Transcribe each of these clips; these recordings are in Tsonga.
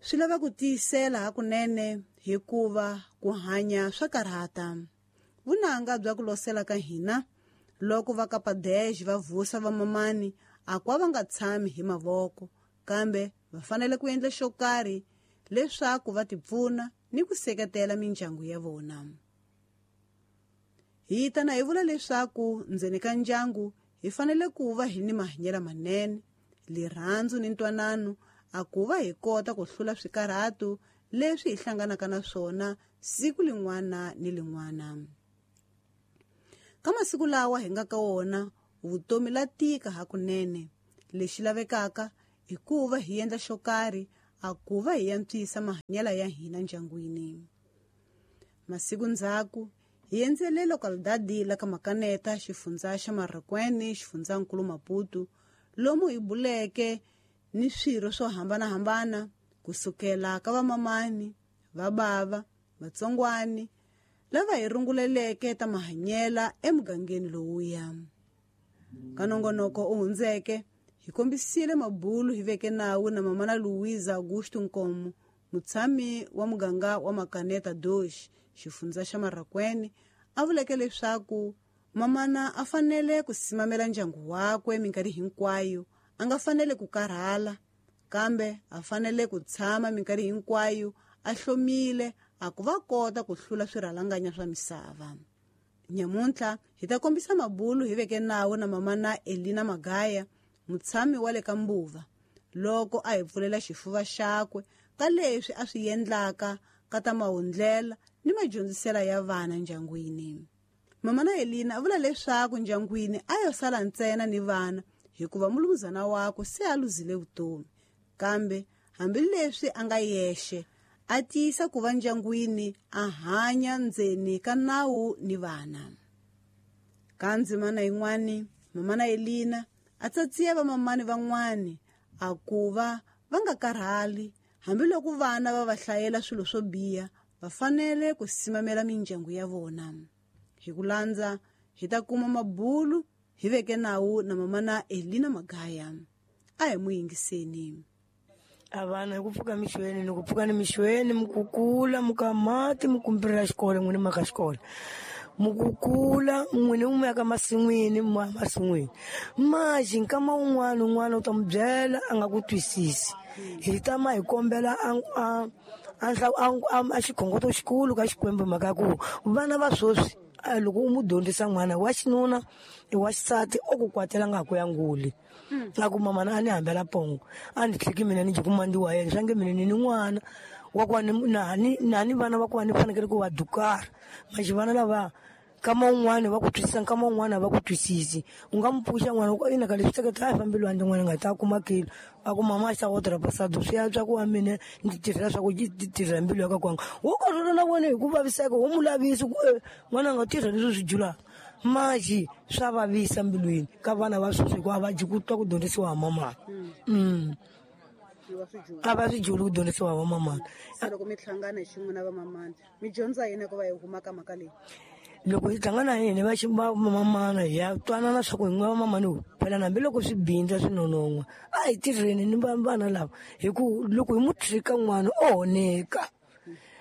Swi lava ku tiyisela hakunene hikuva ku hanya swa karhata. Vunanga bya ku losela ka hina loko va ka Padej va vusa vamamani a kwa va nga tshami hi mavoko, kambe va fanele ku endla xo karhi leswaku va tipfuna ni ku seketela mindyangu ya vona. Hi tana hi vula leswaku ndzeni ka ndyangu hi fanele ku va hi ni mahanyelo manene, rirhandzu ni ntwanano, a ku va hi kota ku hlula swikarhato leswi hi hlanganaka na swona siku lin'wana ni lin'wana. Ka masiku lawa hi nga ka wona, vutomi la tika hakunene. Lexi lavekaka i ku va hi endla xo karhi a ku va hi antswisa mahanyelo ya hina ndyangwini. Masiku ndzhaku hi endzele localidade la ka Makaneta, xifundza xa Marracuene, xifundzankulu Maputo, lomu hi buleke ni swirho swo hambanahambana kusukela ka vamamani, vabava, vatsongwani lava hi runguleleke ta mahanyela emugangeni lowuya. Ka nongonoko u hundzeke hi kombisile mabulu hi veke nawu na mamana Luiza Augusto Nkomo, mutshami wa muganga wa Makaneta Dosh, xifundza xa Marracuene, a vuleke leswaku mamana a fanele ku simamela ndyangu wakwe minkarhi hinkwayo, a nga fanele ku karhala, kambe a fanele ku tshama minkarhi hinkwayo a hlomile a ku va kota ku hlula swirhalanganya swa misava. Nyamuntlha hi ta kombisa mabulu hi veke nawu na mamana Elina Magaya, mutshami wa le ka Mbuva, loko a hi pfulela xifuva xakwe ka leswi a swi endlaka ka ta mahundlela ni madyondzisela ya vana ndyangwini. Mamana Elina a vula leswaku ndyangwini a yo sala ntsena ni vana hikuva mulumuzana wakwe se a luzile vutomi, kambe hambileswi a nga yexe a tiyisa ku va ndyangwini a hanya ndzeni ka nawu ni vana. Ka ndzimana yin'wani, mamana Elina a tsatsiya vamamani van'wani a ku va va nga karhali hambiloko vana va va hlayela swilo swo biha, va fanele ku simamela mindyangu ya vona. Hi ku landza hi ta kuma mabulu hi veke nawu na mamana Elina Magaya. A hi mu yingiseni. A vana hi ku pfuka mixweni ni ku pfuka ni mixweni mi kukula mi ka mati mi kumbirela xikolo n'wini maka xikolo mi kukula n'wini mu ya ka masin'wini mu ya masin'wini maxi nkama wun'wana un'wana u ta mu byela a nga ku twisisi hi tama hi kombela a xikhongoto xikulu ka Xikwembu mhaka ya ku vana va sweswi loko u mu dyondzisa n'wana wa xinuna i wa xisati o ku kwatela nga ku ya nguli a ku mama a ni hambela pongo a ni tlhiki mina ni dyi ku mandi wa yena swa nge mina ni ni n'wana wa ku na ni vana va ku ni fanekele ku va dukara maxi vana lava nkama wun'wani va ku twisisa nkama wun'wani a va ku twisisi u nga mu pfuxa n'wana u ina ka leswi hleketa a hi fambi lwandle n'wana nga ta kuma kilo a ku mama a xa wotra pasado swi antswa ku wa mina ndzi tirhela swa ku tirhela mbilu ya ka kwanga wo karhala na wena hi ku vaviseka wo mu lavisa ku n'wana a nga tirha leswi swi julaka maxi swa vavisa mbilwini ka vana va sweswi hikuva a va dyi ku twa ku dyondzisiwa hi mamana. A va swi juli ku dyondzisiwa hi vamamana. Se loko mi hlangana hi xin'we na vamamana mi dyondza yini ku va hi huma ka mhaka leyi? Loko hi hlangana hi hina va vamamana hi ya twanana swa ku hi n'we vamamana phela hambiloko swi bindza swi nonon'hwa a hi tirheni ni vana lava hi ku loko hi mu trika n'wana o honeka.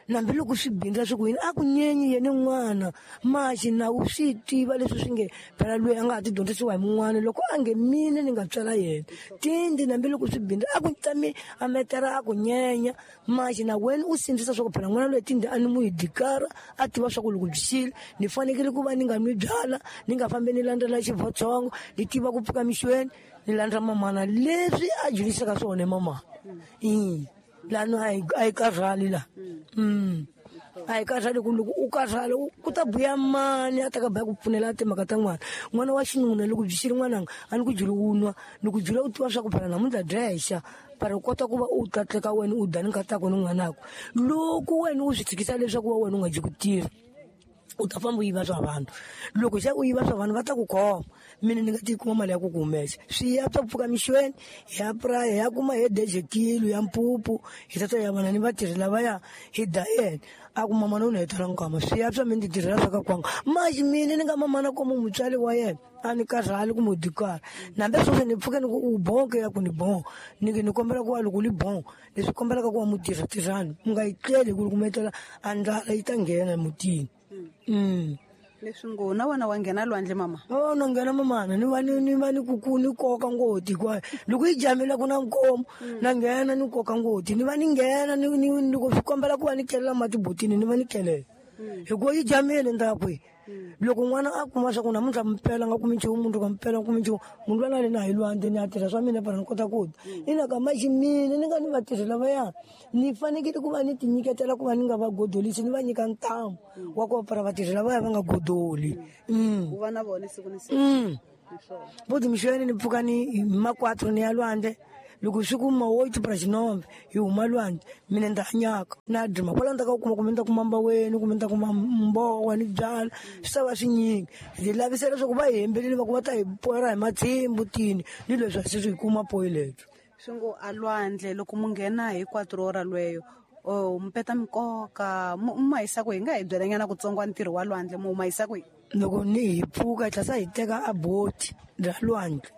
Hambiloko swi bindza swi ku yini a ku nyenyi yena n'wana maxi na u swi tiva leswi swi nge phela loyi a nga ha ti dyondzisiwa hi mun'wana loko a nge mina ni nga tswala yena tindi hambiloko swi bindza a ku tami a metera a ku nyenya maxi na wena u sindzisa swa ku phela n'wana loyi tindi a ni mu hi dikara a tiva swa ku loko byi xile ni fanekele ku va ni nga nwi byala ni nga fambi ni landzela xivotsongo ni tiva ku pfuka mixweni ni landza mamana leswi a dyondzisaka swona mamana. Lano a hi karhali la. A hi karhali ku loko u karhala ku ta buya mani a ta ka buya ku pfunela timhaka ta n'wana. N'wana wa xinuna loko byi xile n'wananga a ni ku byeli u nwa ni ku byela u tiva swa ku phela namuntlha dya para u kota ku va u tlatleka wena u dya ni nkatako ni n'wanako. Loko wena u swi tshikisa leswaku wa wena u nga dyi ku tirha u ta famba u yiva swa vanhu loko se u yiva swa vanhu va ta ku khoma. Mina ni nga ti kuma mali ya ku ku humesa. Swi ya swa pfuka mixweni hi ya puraya hi ya kuma hi deje kilo ya mpupu hi tata ya vana ni vatirhi lavaya hi da yena. A ku mama no ni hetela nkama swi ya swa mi ni tirhela swa ka kwanga. Maxi mina ni nga mamana komo mutswari wa yena a ni karhali ku mu dikara. Nambe sweswi ni pfuke ni ku u bonke ya ku ni bon. Ni ni kombela ku wa loko li bon leswi kombelaka ku wa mu tirha tirhani mu nga yi tleli ku loko mu etlela a ndlala yi ta nghena mutini. Leswi ngo na wena wa nghena lwandle mama? Oh na nghena mamana ni va ni va ni ku ku ni koka ngoti hinkwayo. Loko yi jamile ku na nkomo na nghena ni koka ngoti ni va ni nghena ni ni loko swi kombela ku va ni kelela mati botini ni va ni kelela. Hikuva yi jamile ni ta ya kwihi? Loko n'wana a kuma swa ku namuntlha mpela nga kumi nchumu mundzuku mpela nga kumi nchumu munhu loyi a ni a hi lwandle ni ya tirha swa mina para ni kota ku dya. Ina ka maxi mina ni nga ni vatirhi lavaya ni fanekele ku va ni ti nyiketela ku va ni nga va godolisi ni va nyika ntamu wa ku para vatirhi lavaya va nga godoli. U va na vona siku ni siku. Boti mixweni ni pfuka ni ma 4 ni ya lwandle. Loko swi ku ma wo para xinombe hi huma lwandle mina ni ta hanyaka na drima kwala ni ta ka kuma kumbe ni ta kuma mbaweni kumbe ni ta kuma mbowa ni byala swi ta va swinyingi. Hi lavisela leswaku va hi hembelile va ku va ta hi poyela hi matshimbu tini ni leswi a se swi hi kuma poyi lebyi. Swi ngo a lwandle loko mu nghena hi 4 ora lweyo o mi peta mikoka mu ma yisa kwihi? Hi nga hi byelanyana kutsongo ntirho wa lwandle mu ma yisa kwihi? Loko ni hi pfuka hi tlhela hi teka a boti ra lwandle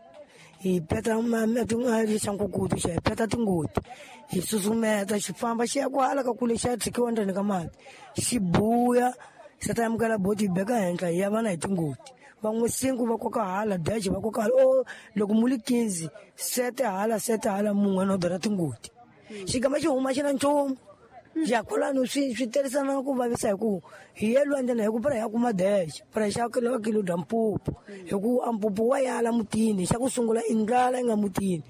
hi peta lexankukutu xa hi peta tingoti hi susumeta xi famba xi ya kwala ka kule xa tshikiwa ndzeni ka mati xi buya xa ta amukela boti hi beka henhla hi ya vana hi tingoti. Van'we 5 va koka hala dash va koka hala o loko mu li 15 sete hala sete hala mun'we no dora tingoti. Xigama xi huma xi na nchumu. Ya kwalano swi terisana ku vavisa hi ku hi ye lwandle na hi ku para hi ya kuma dash para hi xava kilo kilo bya mpupu hi ku a mpupu wa yala mutini xa ku sungula i ndlala yi nga mutini.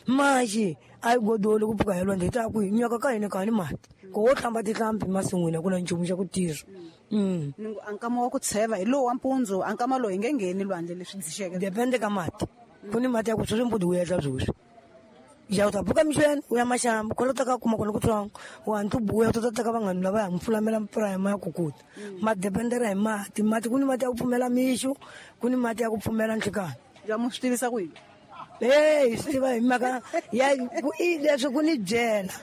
Maxi a yi godoli ku pfuka hi lwandle hi ta ku nyoka ka hina ka ni mati ku wo hlamba tihlampfi masin'wini a ku na nchumu xa ku tirha. Ni ngo a nkama wa ku tsheva hi lowu wa mpundzu a nkama lowu hi nge ngheni lwandle leswi dzixeke. Depende ka mati ku ni mati ya ku sweswi mpudu wu endla sweswi. Ya u ta pfuka mixweni u ya maxamba kwala u ta ka kuma kona kutsongo u hatla u buya u ta teka vanghana lava ya mpfulamela mpfula ya kukuta. Ma dependera hi mati mati ku ni mati ya ku pfumela mixo ku ni mati ya ku pfumela nhlikani. Ya mu swi tivisa ku yini? Hi swi tiva hi mhaka ya ku i leswi ku ni byela.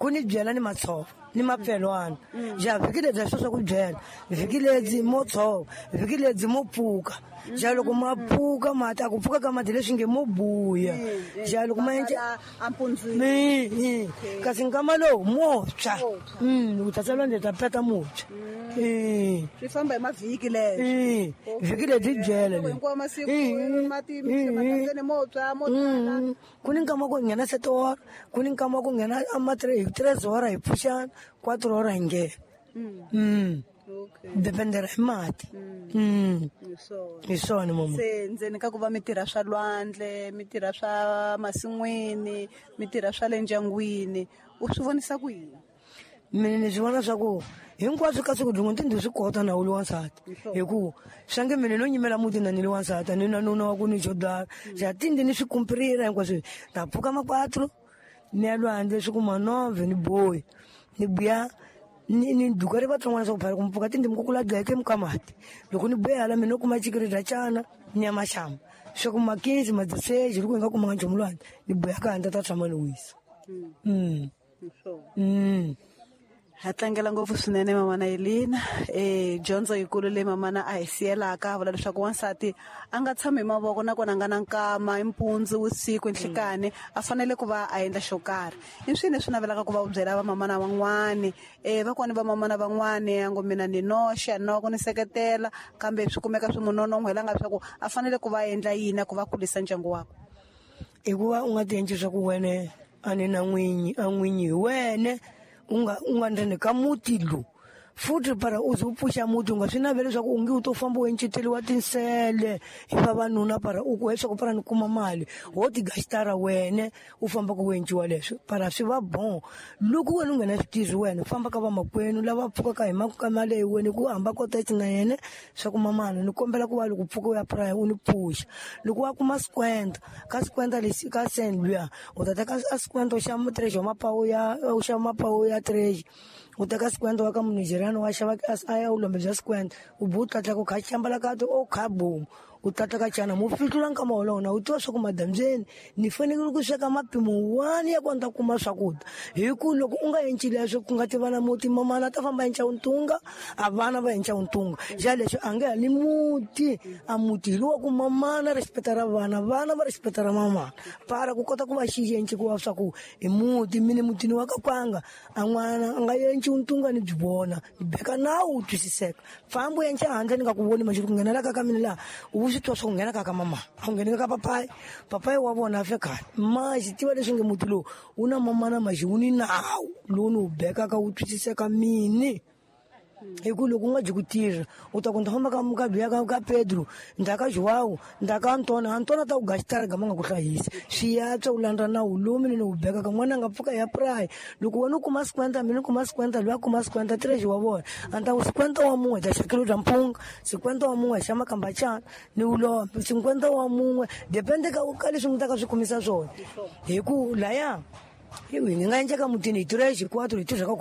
Ku ni byela ni matshova ni mapfelwana. Ja vhiki lebyi swo swa ku byela vhiki lebyi mo tshova vhiki lebyi mo pfuka. Ja loko ma pfuka mati a ku pfuka ka mati leswi nge mo buya. Ja loko ma endla ampundzwini. Kasi nkama lowu mo tshwa. Loko tata lwandle ta peta mo tshwa. Swi famba hi mavhiki leswi. Vhiki lebyi byela le. Hinkwawo masiku mati matandzeni mo tshwa mo tala. Ku ni nkama ku nghena 7 ora, ku ni nkama ku nghena ama 3 ora hi pfuxana, 4 ora hi nghena. Dependera hi mati. Hi swona mama. Se ndzeni ka ku va mi tirha swa lwandle, mi tirha swa masin'wini, mi tirha swa le ndyangwini, u swi vonisa ku yini? Mina ni swi vona swa ku hinkwaswo ka siku rin'we ndzi swi kota na wu li wansati. Hi ku swa nge mina no nyimela muti na ni li wansati ni na nuna wa ku ni xo dlala. Ja tindi ni swi kumpirira hinkwaswo. Ta pfuka ma 4 ni ya lwandle swi kuma 9 ni boyi. Ni buya ni duka ri vatsongwana swa ku phela ku mpfuka tindi mi kukula dleke mi ka mati. Loko ni buya hala mina no kuma chikiri dya cana ni ya maxamba. Swa ku ma 15 ma 16 loko hi nga kumanga nchumu lwandle ni buya ka handle ta tshama ni wisa. Ha tlangela ngopfu swinene mamana Elina. Dyondzo yikulu leyi mamana a hi siyelaka a vula leswaku wansati a nga tshami hi mavoko nakona a nga na nkama hi mpundzu vusiku nhlikani a fanele ku va a endla xo karhi. I swini leswi navelaka ku va u byela vamamana van'wani? Vakwani vamamana van'wani a ngo mina ni noxe a ni na ku ni seketela kambe swi kumeka swi n'wi nonon'hwela nga leswaku a fanele ku va a endla yini ku va kulisa ndyangu wakwe. I ku va u nga ti endli swa ku wena a ni na n'winyi a n'winyi hi wena u nga ndzeni ka muti lowu. Futhi para u ze u pfuxa muti u nga swi naveli leswaku u nge u to famba u enceteliwa tinsele hi vavanuna para u ku leswaku para ni kuma mali ho tigasitara wena u famba ku enciwa leswi para swi va bon. Loko wena u nghena switirhi wena u famba ka vamakwenu lava pfukaka hi mali leyi wena ku hamba kota na yena swa ku mamana ni kombela ku va loko pfuka u ya puraya u ni pfuxa. Loko wa kuma sikwenda ka sikwenda lexi ka send luya u ta teka a sikwenda xa treasure wa mapawu ya u xava mapawu ya treasure u teka sikwenda wa ka Munigeriano wa xava a ya u lombe bya sikwenda u bu tlatla ku kha xambala ka to o kha boom U tata ka cana mo fihlula nkama wolowo na u tiva swa ku madambyeni ni fanekele ku sweka mapimo wani ya ku ni ta kuma swakudya hi ku loko u nga enci leswo ku nga tiva na muti mamana a ta famba enca ntunga a vana va enca ntunga xa leswo a nge hali muti a muti hi lowa ku mamana respecta ra vana vana va respecta ra mamana para ku kota ku va xi enci ku va swa ku i muti mine mutini wa ka kwanga a n'wana a nga enci ntunga ni byi vona ni beka nawu wu twisiseka fambo enca handle ni nga ku voni maxi ku nghenela ka ka mina laha u swi tiva swa ku nghena ka ka mama a wu ngheni ka papayi papayi wa vona a fe khale ma xi tiva leswi nge muti lowu wu na mamana maxi wu ni nawu lowu ni wu bekaka wu twisiseka mini hi ku loko u nga byi ku tirha u ta ku ni ta famba ka ka ka Pedro ni ta ka Joao ni ta ka Antona Antona ta ku gaxitara gama nga ku hlayisi swi yatswa u landza nawu lowu mina ni wu bekaka n'wana a nga pfuka ya purayi loko wena u kuma sikwenta mina ni kuma sikwenta loyi a kuma sikwenta tirexi wa vona a ni ta ku sikwenta wa mun'we hi ta xa kilo bya mpunga sikwenta wa mun'we hi xa makambachana ni wu lomba sikwenta wa mun'we depende ka ka leswi mi ta ka swi kumisa swona hi ku laya hi nga endleka mutini hi tirexi hinkwato hi tirha ka.